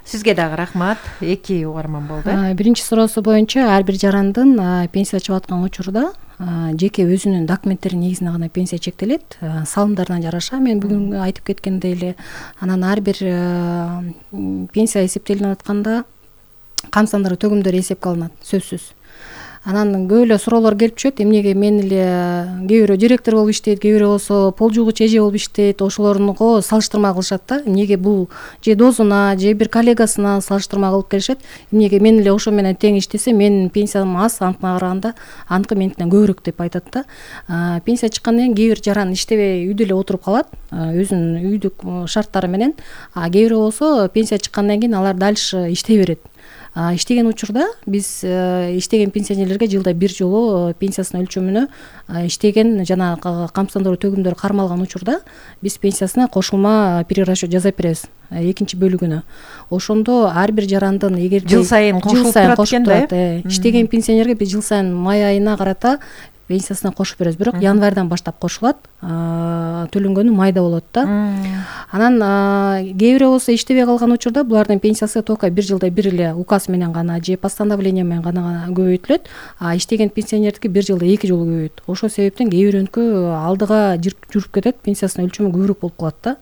Сизге дагы рахмат. 2 угарман болду. Биринчи суроосу боюнча ар бир жарандын пенсия чыгып аткан учурда жеке өзүнүн документтери негизинде гана пенсия чектелет, салымдарына жараша. Мен бүгүн айтып кеткендей эле, анан ар бир пенсия эсептелип атканда кам сандыруу төгүмдөрү эсепке алынат, сөзсүз. Анан көп эле суроолор келип түшөт. Эмнеге мен эле кээ бирөө директор болуп иштейт, кээ бирөө болсо пол жуугучу эже болуп иштейт, ошолорнуго салыштырма кылышат да. Эмнеге бул же досуна, же бир коллегасына салыштырма кылып келишет. Эмнеге мен эле ошо менен тең иштесем, менин пенсиям аз, аныкына караганда аныкы меникинен көбүрөөк деп айтат да. Пенсия чыккандан кийин кээ бир жаран иштебей үйдө эле отуруп калат, өзүнүн үйдүк шарттары менен. Кээ бирөө болсо пенсия чыккандан кийин алар дальше иштей берет. Иштеген учурда биз иштеген пенсионерлерге жылда бир жолу пенсиясынын өлчөмүнө иштеген жана кам сандыруу төгүмдөрү кармалган учурда биз пенсиясына кошулма перерасчет жасап беребиз, экинчи бөлүгүнө. Ошондо ар бир жарандын эгер жыл сайын кошулуп турат экен да. Иштеген пенсионерге биз жыл сайын май айына карата пенсиясына кошуп беребиз. Бирок январдан баштап кошулат, төлөнгөнү майда болот да. Анан кээ бирөө болсо иштебей калган учурда булардын пенсиясы только бир жылда бир эле указ менен гана же постановление менен гана көбөйтүлөт, иштеген пенсионердики бир жылда 2 жолу көбөйөт. Ошол себептен кээ бирөөнүкү алдыга жүрүп кетет, пенсиясынын өлчөмү көбүрөөк болуп калат да.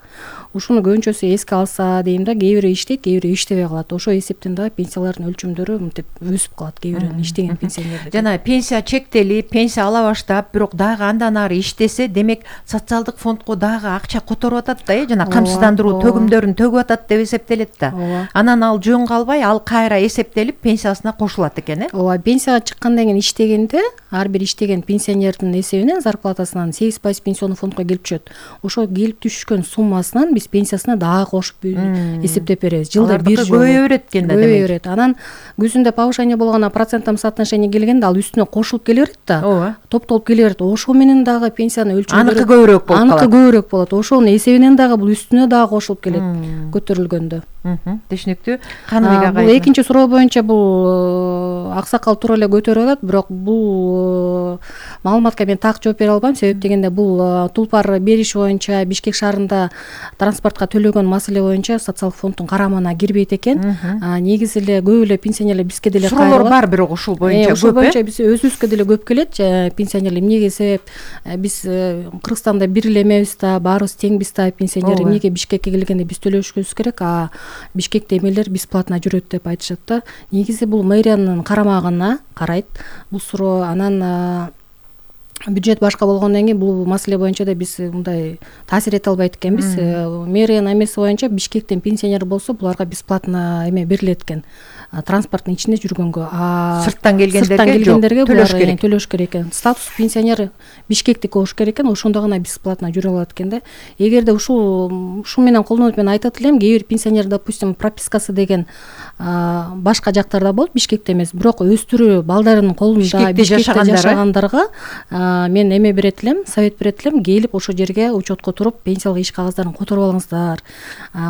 Ушуну көбүнчөсү эске алса дейм да, кээ бирөө иштейт, кээ бирөө иштебей калат. Ошол эсептен дагы пенсиялардын өлчөмдөрү мынтип өсүп калат кээ бирөөнүн иштеген пенсионердики. Жана пенсия чектелип, пенсия ала баштап, бирок дагы андан ары иштесе, демек социалдык фондко дагы акча которуп атат да, жана камсыздандыруу төгүмдөрүн төгүп атат деп эсептелет да. Анан ал жөн калбай, ал кайра эсептелип пенсиясына кошулат экен, Ооба, пенсияга чыккандан кийин иштегенде ар бир иштеген пенсионердин эсебинен, зарплатасынан 8% пенсионный фондко келип түшөт. Ошол келип түшкөн суммасынан биз пенсиясына дагы кошуп эсептеп беребиз. Жылда бир жолу көбөйө берет экен да, демек. Анан күзүндө повышение болгондо процентном соотношении келгенде ал үстүнө кошулуп келе берет да. Топтолуп келе берет. Ошол менен дагы пенсиянын өлчөмдөрү аныкы көбүрөөк болуп калат. Аныкы көбүрөөк болот. Ошонун эсебинен дагы бул үстүнө дагы кошулуп келет көтөрүлгөндө. Түшүнүктүү. Каныбек ага. Бул экинчи суроо боюнча бул аксакал туура эле көтөрүп атат, бирок бул маалыматка мен так жооп бере албайм. Себеп дегенде бул тулпар бериш боюнча Бишкек шаарында транспортко төлөгөн маселе боюнча социалдык фонддун карамагына кирбейт экен. Негизи эле көп эле пенсионерлер бизге деле суроолор бар, бирок ушул боюнча ушул боюнча биз өзүбүзгө деле көп келет. Пенсионерлер эмнеге себеп биз Кыргызстанда бир эле эмебиз да, баарыбыз теңбиз да, пенсионер эмнеге Бишкекке келгенде биз төлөшүбүз керек, Бишкекте эмелер бесплатно жүрөт деп айтышат да. Негизи бул мэриянын карамагына карайт бул суроо. Анан бюджет башка болгондон кийин бул маселе боюнча да биз мындай таасир эте албайт экенбиз. Мэриянын эмеси боюнча Бишкектен пенсионер болсо буларга бесплатно эме берилет экен, транспорттун ичинде жүргөнгө. Сырттан келгендерге төлөш керек экен. Статус пенсионер Бишкектики болуш керек экен, ошондо гана бесплатно жүрө алат экен да. Эгерде ушул менен колдонуп мен айтат элем, кээ бир пенсионер, допустим, пропискасы деген башка жактарда болот, Бишкекте эмес, бирок өстүрүү балдарынын колунда Бишкекте жашагандарга мен эме берет элем, совет берет элем, келип ошол жерге учетко туруп пенсиялык иш кагаздарын которуп алыңыздар.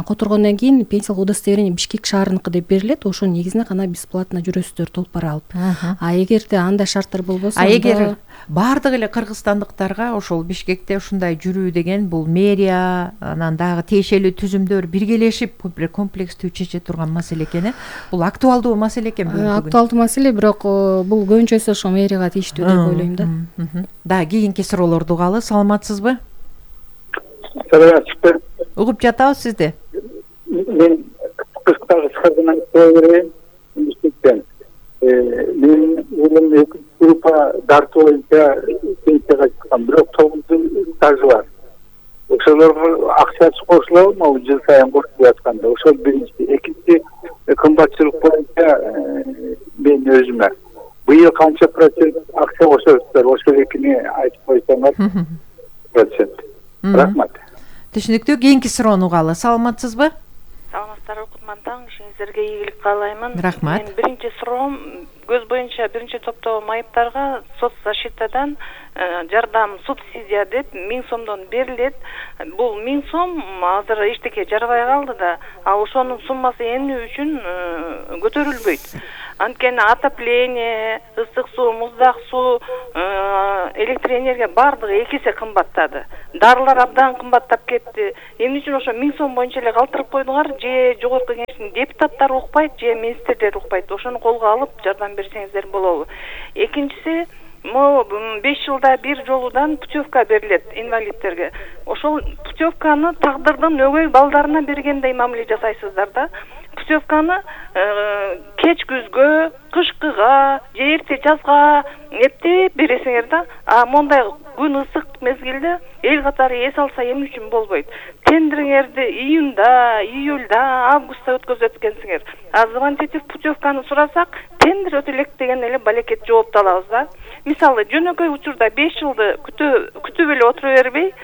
Которгондон кийин пенсиялык удостоверение Бишкек шаарыныкы деп берилет, ошонун негизинде гана бесплатно жүрөсүздөр толпар алып. Эгерде андай шарттар болбосо, эгер баардык эле кыргызстандыктарга ошол Бишкекте ушундай жүрүү деген бул мэрия, анан дагы тиешелүү түзүмдөр биргелешип комплекстүү чече турган маселе экен. Бул актуалдуу маселе экен бүгүн. Актуалдуу маселе, бирок бул көбүнчөсү ошо мэрияга тийиштүү деп ойлойм да. Да, кийинки суроолорду угалы. Саламатсызбы? Саламатсызбы. Угуп жатабыз сизди. Мен кыскагынан көрөйм. Бишкектен. Мен улум экинчи группа дартуу боюнча пенсияга чыккан, бирок 9 жыл стажы бар. Ошолорго акчасы кошулабы, могу жыл сайын кошулуп жатканда. Ошол биринчи. Экинчи, кымбатчылык боюнча мен өзүмө быйыл канча процент акча кошосуздар? Ошол экини айтып койсоңор. Процент. Рахмат. Түшүнүктүү. Кийинки суроону угалы. Саламатсызбы? Саламаттар, Кутман таң, ишиңиздерге ийгилик каалаймын. Рахмат. Мен биринчи суроом көз боюнча биринчи топтогу майыптарга соцзащитадан жардам субсидия деп 1000 сомдон берилет. Бул 1000 сом азыр эчтеке жарабай калды да, а ошонун суммасы эмне үчүн көтөрүлбөйт? Анткени отопление, ысык суу, муздак суу, электр энергия бардыгы 2 эсе кымбаттады. Дарылар абдан кымбаттап кетти. Эмне үчүн ошо 1000 сом боюнча эле калтырып койдуңар? Же жогорку кеңештин депутаттары укпайт, же министрлер укпайт? Ошону колго алып жардам берсеңиздер болобу? Экинчиси, 5 жылда бир жолудан путевка берилет инвалидтерге. Ошол путевканы тагдырдын өгөй балдарына бергендей мамиле жасайсыздар да. Путевканы кеч күзгө, кышкыга, же эрте жазга эптеп бересиңер да. А мондай күн ысык мезгилде эл катары эс алса эмне үчүн болбойт? Тендериңерди июнда, июльда, августта өткөзөт экенсиңер. А звонтетип путевканы сурасак, тендер өтө элек деген эле балекет жоопту алабыз да. Мисалы, жөнөкөй учурда 5 жылды күтүп эле отура бербей,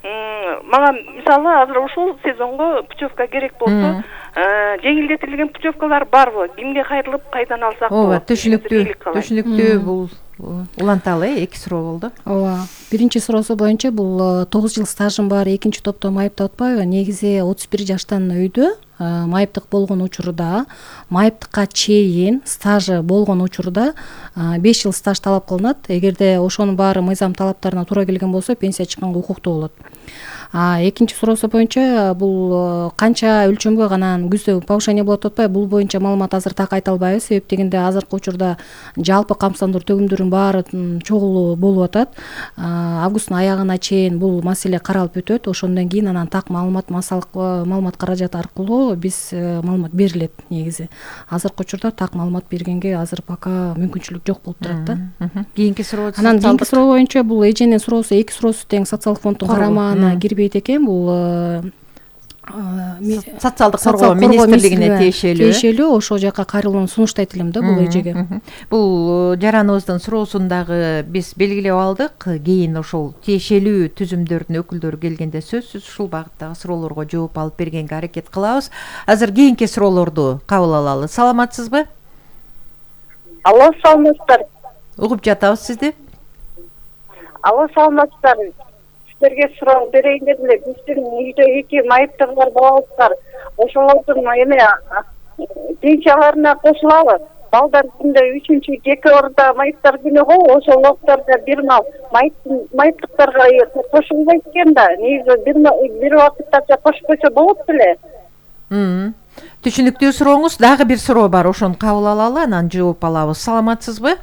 мага мисалы азыр ушул сезонго путевка керек болсо, жеңилдетилген путевкалар барбы? Кимге кайрылып кайдан алсак болот? Түшүнүктүү. Бул уланталы 2 суроо болду. Ооба. Биринчи суроосу боюнча бул 9 жыл стажым бар, экинчи топто майыптап атпайбы? Негизи 31 жаштан өйдө майыптык болгон учурда, майыптыкка чейин стажы болгон учурда 5 жыл стаж талап кылынат. Эгерде ошонун баары мыйзам талаптарына туура келген болсо, пенсия чыкканга укуктуу болот. Экинчи суроосу боюнча бул канча өлчөмгө гана күздө повышение болот атпайбы? Бул боюнча маалымат азыр так айта албайбыз. Себеп дегенде азыркы учурда жалпы камсыздандыруу төгүмдөрүнүн баары чогулуу болуп атат. Августтун аягына чейин бул маселе каралып өтөт. Ошондон кийин анан так маалымат, маалымат каражаты аркылуу биз маалымат берилет негизи. Азыркы учурда так маалымат бергенге азыр пока мүмкүнчүлүк жок болуп турат да. Кийинки суроо. Анан кийинки суроо боюнча бул эженин суроосу, 2 суроосу тең социалдык фонддун карамагына кирбейт экен. Бул социалдык коргоо министрлигине тиешелүү. Ошол жака кайрылууну сунуштайт элем да бул эжеге. Бул жараныбыздын суроосун дагы биз белгилеп алдык. Кийин ошол тиешелүү түзүмдөрдүн өкүлдөрү келгенде сөзсүз ушул багыттагы суроолорго жооп алып бергенге аракет кылабыз. Азыр кийинки суроолорду кабыл алалы. Саламатсызбы? Алло, саламатсыздар. Угуп жатабыз сизди. Алло, саламатсыздар. Силерге суроо берейин дедим эле. Биздин үйдө 2 майыптыгы балабыз бар. Ошолордун пенсияларына кошулабы? Балдар күндө 3-2 орунда майыптар күнү го, ошол убактарда бир мал майыптыктарга кошулбайт экен да. Негизи бир убакытта кошуп койсо болот беле. Түшүнүктүү сурооңуз. Дагы бир суроо бар, ошону кабыл алалы, анан жооп алабыз. Саламатсызбы?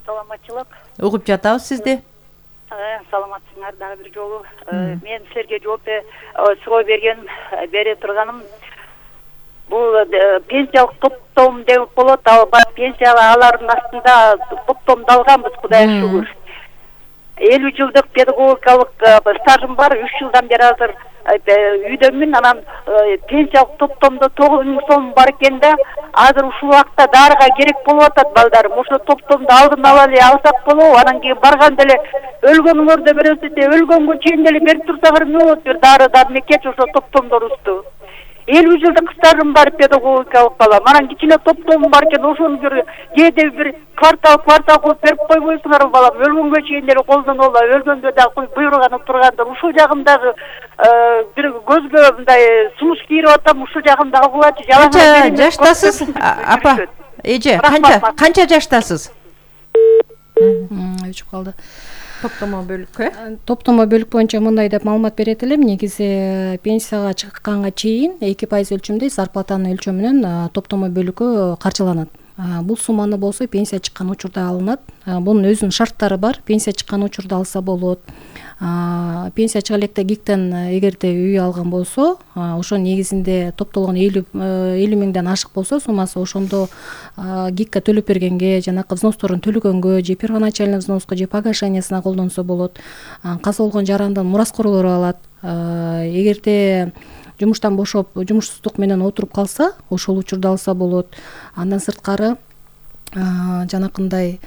Саламатчылык. Угуп жатабыз сизди. Саламатсыңар дагы бир жолу. Мен силерге жооп суроо бере турганым, бул пенсиялык топтом деп болот. Пенсиялардын астында топтомдалганбыз, Кудайга шүгүр. 50 жылдык педагогикалык стажым бар, 3 жылдан бери азыр үйдөмүн. Анан пенсиялык топтомдо 9000 сом бар экен да, азыр ушул убакта дарыга керек болуп атат балдарым. Ошо топтомду алдын ала эле алсак болобу? Анан кийин барганда эле өлгөнүңөрдө беребиз деп, өлгөнгө чейин эле берип турсаңар эмне болот? Бир дары мекеч ошо топтомдорубузду. 50 жылдык стажым бар педагогикалык балам. Анан кичине топтомум бар экен, ошону кээде бир квартал кылып берип койбойсуңарбы балам? Өлгөнгө чейин эле колдонула, өлгөндө дагы буйруганы турганда, ушул жагын дагы бир көзгө мындай сунуш кийирип атам, ушул жагын дагы кылачы. Канча жаштасыз? Апа, эже, канча жаштасыз? Өчүп калды. Топтомо бөлүккө? Топтомо бөлүк боюнча мындай деп маалымат берет элем. Негизи пенсияга чыкканга чейин 2% өлчөмдө зарплатанын өлчөмүнөн топтомо бөлүккө каржыланат. Бул сумманы болсо пенсия чыккан учурда алынат. Бунун өзүнүн шарттары бар. Пенсия чыккан учурда алса болот. Пенсия чыга электе ГИКтен эгерде үй алган болсо, ошонун негизинде топтолгон 50 миңден ашык болсо суммасы, ошондо ГИКке төлөп бергенге, жанакы взносторун төлөгөнгө, же первоначальный взноска, же погашениясына колдонсо болот. Каза болгон жарандын мураскорлору алат. Эгерде жумуштан бошоп, жумушсуздук менен отуруп калса, ошол учурда алса болот. Андан сырткары жанакындай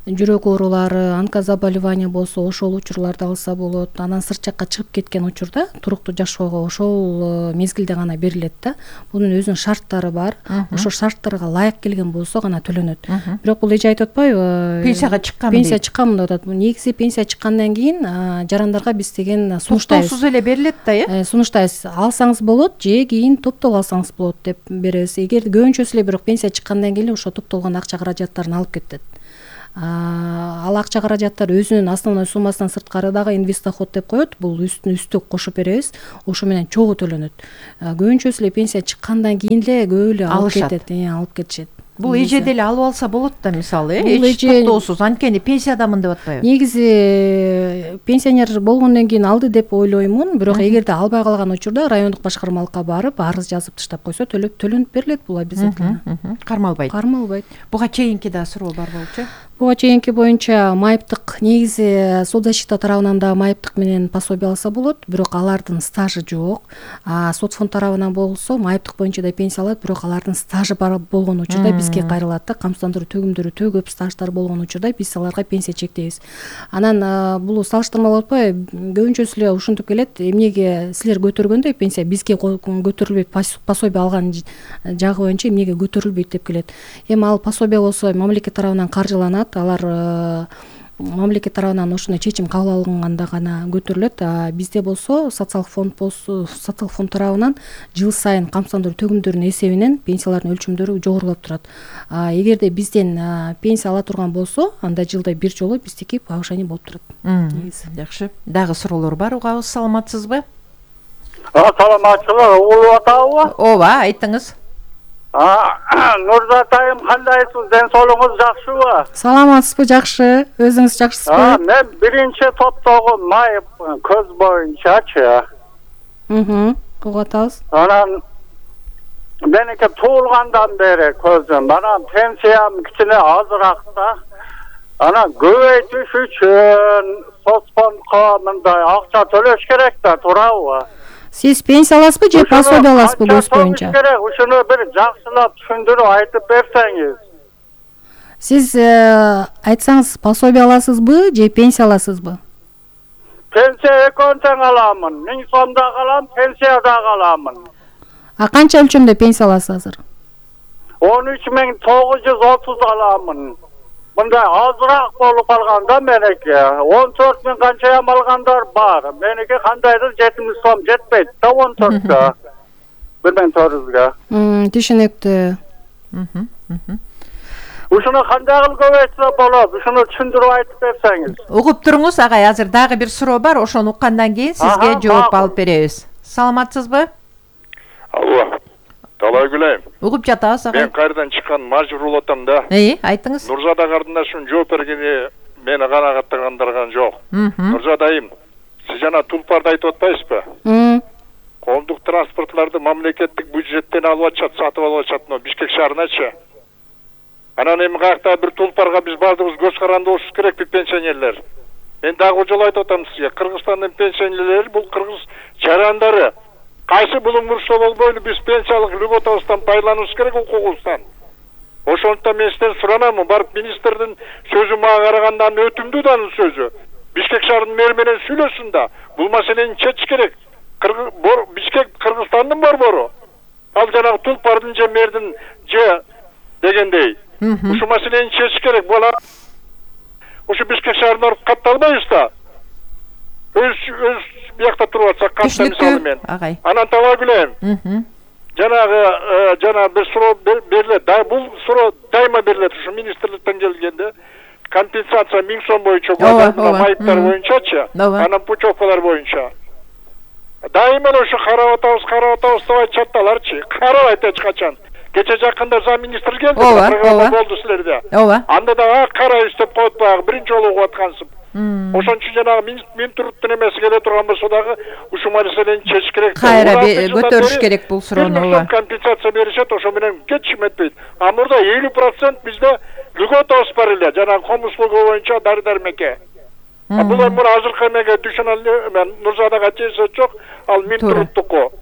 жүрөк оорулары, онкозаболевание болсо ошол учурларда алса болот. Анан сырт жакка чыгып кеткен учурда туруктуу жашоого ошол мезгилде гана берилет да. Бунун өзүнүн шарттары бар. Ошол шарттарга ылайык келген болсо гана төлөнөт. Бирок бул эже айтып атпайбы? Пенсияга чыккан. Пенсия чыккан деп атат. Негизи пенсия чыккандан кийин жарандарга биз деген сунуштайбыз. Токтоосуз эле берилет да, Сунуштайбыз. Алсаңыз болот же кийин топтоп алсаңыз болот деп беребиз. Эгер көбүнчөсү эле бирок пенсия чыккандан кийин ошо топтолгон акча каражаттарын алып кетет. Ал акча каражаттар өзүнүн основной суммасынан сырткары дагы инвестдоход деп коет. Бул үстү кошуп беребиз. Ошо менен чогуу төлөнөт. Көбүнчөсү эле пенсия чыккандан кийин эле көп эле алып кетет, алып кетишет. Бул эже деле алып алса болот да, мисалы, эч токтоосуз. Анткени пенсиядамын деп атпайбы? Негизи пенсионер болгондон кийин алды деп ойлоймун, бирок эгерде албай калган учурда райондук башкармалыкка барып арыз жазып таштап койсо төлөнүп берилет бул обязательно. Кармалбайт. Кармалбайт. Буга чейинки да суроо бар болчу. Буга чейинки боюнча майыптык негизи соцзащита тарабынан да майыптык менен пособие алса болот, бирок алардын стажы жок. Соцфонд тарабынан болсо майыптык боюнча да пенсия алат, бирок алардын стажы бар болгон учурда бизге кайрылат да. Камсыздандыруу төгүмдөрү төгүп стаждар болгон учурда биз аларга пенсия чектейбиз. Анан бул салыштырмалуу атпайбы? Көбүнчөсү эле ушинтип келет. Эмнеге силер көтөргөндөй пенсия бизге көтөрүлбөйт, пособие алган жагы боюнча эмнеге көтөрүлбөйт деп келет. Эми ал пособие болсо мамлекет тарабынан каржыланат. Алар мамлекет тарабынан ошондой чечим кабыл алынганда гана көтөрүлөт. Бизде болсо социалдык фонд тарабынан жыл сайын камсыздандыруу төгүмдөрүнүн эсебинен пенсиялардын өлчөмдөрү жогорулап турат. Эгерде бизден пенсия ала турган болсо, анда жылда бир жолу биздики повышение болуп турат. Жакшы. Дагы суроолор бар, угабыз. Саламатсызбы? Саламатсызбы? Угуп атабы? Ооба, айтыңыз. Нурзат айым, кандайсыз? Ден соолугуңуз жакшыбы? Саламатсызбы? Жакшы. Өзүңүз жакшысызбы? Мен биринчи топтогу майып көз боюнчачы. Угуп атабыз. Анан меники туулгандан бери көзүм. Анан пенсиям кичине азыраак да. Анан көбөйтүш үчүн соцфондко мындай акча төлөш керек да, туурабы? Сиз пенсия аласызбы же пособие аласызбы көз боюнча? Ушуну бир жакшылап түшүндүрүп айтып берсеңиз. Сиз айтсаңыз, пособие аласызбы же пенсия аласызбы? Пенсия экөөнү тең аламын. 1000 сом да алам, пенсия да аламын. Канча өлчөмдө пенсия аласыз азыр? 13.930 аламын. Мындай азыраак болуп калганда меники 14.000 канчаям алгандар бар. Меники кандайдыр 7000 сом жетпейт да 14-кө. 1400-гө. Түшүнүктүү. Ушуну кандай кылып көбөйтсө болот? Ушуну түшүндүрүп айтып берсеңиз. Угуп туруңуз, агай. Азыр дагы бир суроо бар, ошону уккандан кийин сизге жооп алып беребиз. Саламатсызбы? Алло. Талай күлейм. Угуп жатабыз, агай. Мен кайрадан чыккан мажбур атам да. Айтыңыз. Нурзада кардындашым жооп бергени мени канагаттандырган жок. Нурзада айым, сиз жана Тулпарды айтып атпайсызбы? Коомдук транспортларды мамлекеттик бюджеттен алып атышат, сатып алып атышат, но Бишкек шаарыначы. Анан эми каякта бир Тулпарга биз баардыгыбыз көз каранды болушубуз керекпи, пенсионерлер? Мен дагы жолу айтып атам сизге, Кыргызстандын пенсионерлери бул кыргыз жарандары. Кайсы булуң бурушса болбойлу, биз пенсиялык льготабыздан пайдаланышыбыз керек, укугубуздан. Ошондуктан мен сизден суранамын, барып министрдин сөзү мага караганда өтүмдүү да анын сөзү. Бишкек шаарынын мэри менен сүйлөшсүн да, бул маселени чечиш керек. Бишкек Кыргызстандын борбору. Ал жанагы Тулпардын же мэрдин же дегендей. Ушу маселени чечиш керек. Була ушу Бишкек шаарына барып катталбайбыз да. Өз биякта туруп атсак, кантса мисалы мен. Анан таба билем. Жанагы бир суроо берилет. Бул суроо дайыма берилет. Ушу министрликтен келгенде компенсация 1000 сом боюнча майыптар боюнчачы, анан путевкалар боюнча. Дайыма ушу карап атабыз деп айтышат аларчы. Карабайт эч качан. Кече жакында зам министр келди, программа болду силерде. Анда да карайбыз деп коет баягы биринчи жолу угуп аткансып. Ошон үчүн жанагы Минтруттун эмеси келе турган болсо дагы ушу маселени чечиш керек. Кайра көтөрүш керек бул суроону. Компенсация беришет, ошо менен кетишим этпейт. А мурда 50% бизде льготабыз бар эле, жанагы ком услуга боюнча дары-дармекке. Бул эми азыркы эмеге түшүн ал мен Нурзадага чейсет жок, ал Минтруттуку.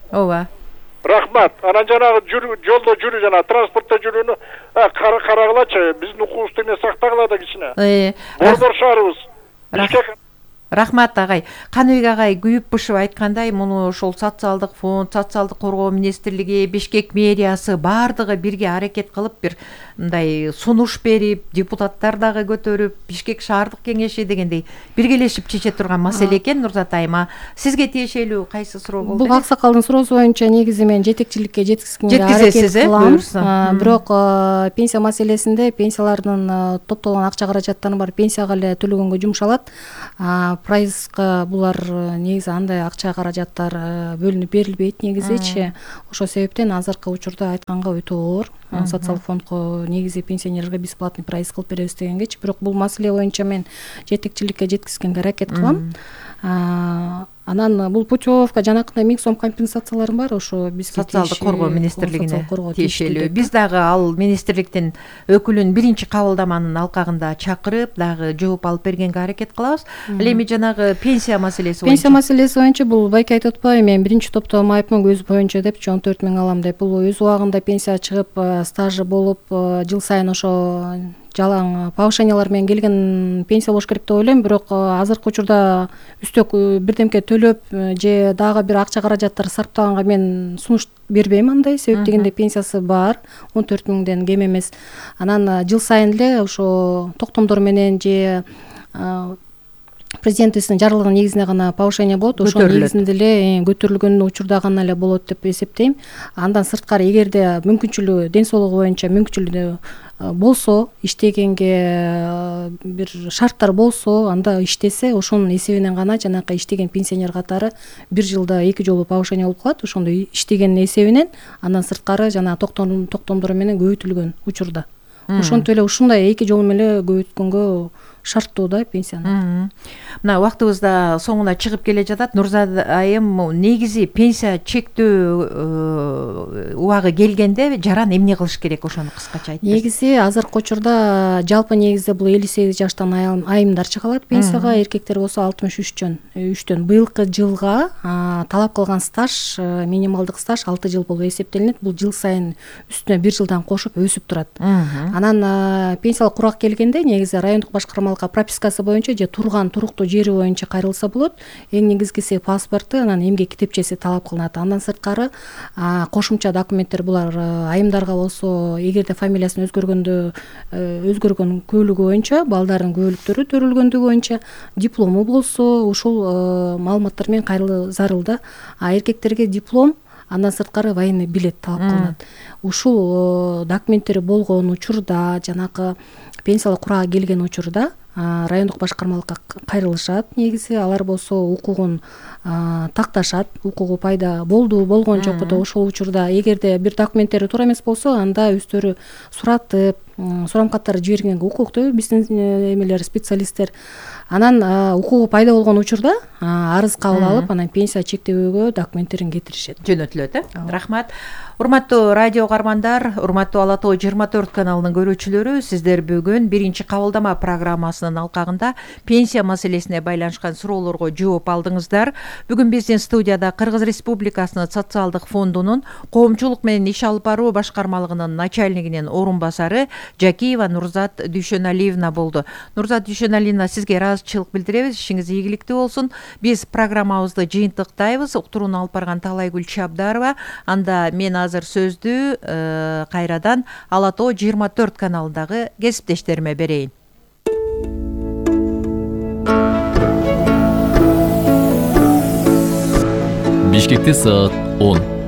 Рахмат. Анан жанагы жолдо жүрүү жана транспортто жүрүүнү карагылачы. Биздин укугубузду эмне сактагыла да кичине. Борбор шаарыбыз. Рахмат агай. Каныбек агай күйүп бышып айткандай, муну ошол социалдык фонд, социалдык коргоо министрлиги, Бишкек мэриясы бардыгы бирге аракет кылып бир мындай сунуш берип, депутаттар дагы көтөрүп, Бишкек шаардык кеңеши дегендей биргелешип чече турган маселе экен. Нурзат айыма, сизге тиешелүү кайсы суроо болду? Бул аксакалдын суроосу боюнча негизи мен жетекчиликке жеткизгенге аракет кылам. Бирок пенсия маселесинде пенсиялардын топтолгон акча каражаттары бар, пенсияга эле төлөгөнгө жумшалат. Прайска булар негизи андай акча каражаттар бөлүнүп берилбейт негизичи. Ошол себептен азыркы учурда айтканга өтө оор. Социалдык фондко негизи пенсионерге бесплатный проезд кылып беребиз дегенгечи, бирок бул маселе боюнча мен жетекчиликке жеткизгенге аракет кылам. Анан бул путевка жанакындай 1000 сом компенсациялар бар, ошо бизге социалдык коргоо министрлигине тиешелүү. Биз дагы ал министрликтин өкүлүн биринчи кабылдаманын алкагында чакырып дагы жооп алып бергенге аракет кылабыз. Ал эми жанагы пенсия маселеси боюнча. Пенсия маселеси боюнча бул байке айтып атпайбы, мен биринчи топто майыпмын өз боюнча депчи 14 000 алам деп. Бул өз убагында пенсия чыгып, стажы болуп, жыл сайын ошо жалаң повышениялар менен келген пенсия болуш керек деп ойлойм. Бирок азыркы учурда үстөк бирдемке төлөп же дагы бир акча каражаттар сарптаганга мен сунуш бербейм андай. Себеп дегенде пенсиясы бар, 14 000ден кем эмес. Анан жыл сайын эле ошо токтомдор менен же президентибиздин жарлыгынын негизинде гана повышение болот. Ошол негизинде эле көтөрүлгөн учурда гана эле болот деп эсептейм. Андан сырткары эгерде мүмкүнчүлүгү, ден соолугу боюнча мүмкүнчүлүгү болсо, иштегенге бир шарттар болсо, анда иштесе, ошонун эсебинен гана жанакы иштеген пенсионер катары бир жылда 2 жолу повышение болуп калат. Ошондой иштегенин эсебинен андан сырткары жана токтомдор менен көбөйтүлгөн учурда. Ошентип эле ушундай 2 жолу менен көбөйткөнгө шарттуу да пенсияны. Мына убактыбыз да соңуна чыгып келе жатат. Нурзат айым, негизи пенсия чектөө убагы келгенде жаран эмне кылыш керек, ошону кыскача айтып берсиңиз. Негизи азыркы учурда жалпы негизде бул 58 жаштан айымдар чыга алат пенсияга, эркектер болсо 63-төн. Быйылкы жылга талап кылган стаж, минималдык стаж 6 жыл болуп эсептелинет. Бул жыл сайын үстүнө 1 жылдан кошуп өсүп турат. Анан пенсиялык курак келгенде негизи райондук башкармалыкка пропискасы боюнча же турган туруктуу жери боюнча кайрылса болот. Эң негизгиси паспорту, анан эмгек китепчеси талап кылынат. Андан сырткары кошумча документтер булар айымдарга болсо, эгерде фамилиясын өзгөргөн көөлүгү боюнча, балдардын көөлүктөрү төрөлгөндүгү боюнча диплому болсо, ушул маалыматтар менен кайрылуу зарыл да. Эркектерге диплом, андан сырткары военный билет талап кылынат. Ушул документтери болгон учурда, жанакы пенсиялык курага келген учурда райондук башкармалыкка кайрылышат. Негизи алар болсо укугун такташат. Укугу пайда болгон жокпу, ошол учурда эгерде бир документтери туура эмес болсо, анда өздөрү суратып, сурамкаттарды жибергенге укуктуу биздин эмелер, специалисттер. Анан укугу пайда болгон учурда арыз кабыл алып, анан пенсия чектөөгө документтерин кетиришет. Жөнөтүлөт, Рахмат. Урматтуу радио каармандар, урматтуу Ала Тоо 24 каналынын көрүүчүлөрү, сиздер бүгүн биринчи кабылдама программасынын алкагында пенсия маселесине байланышкан суроолорго жооп алдыңыздар. Бүгүн биздин студияда Кыргыз Республикасынын социалдык фондунун коомчулук менен иш алып баруу башкармалыгынын начальнигинин орун басары Жакиева Нурзат Дүйшөналиевна болду. Нурзат Дүйшөналиевна, сизге ыраазычылык билдиребиз. Ишиңиз ийгиликтүү болсун. Биз программабызды жыйынтыктайбыз. Уктурууну алып барган Талайгүл Чабдарова. Анда мен азыр сөздү кайрадан Ала Тоо 24 каналындагы кесиптештериме берейин. Бишкекте саат 10.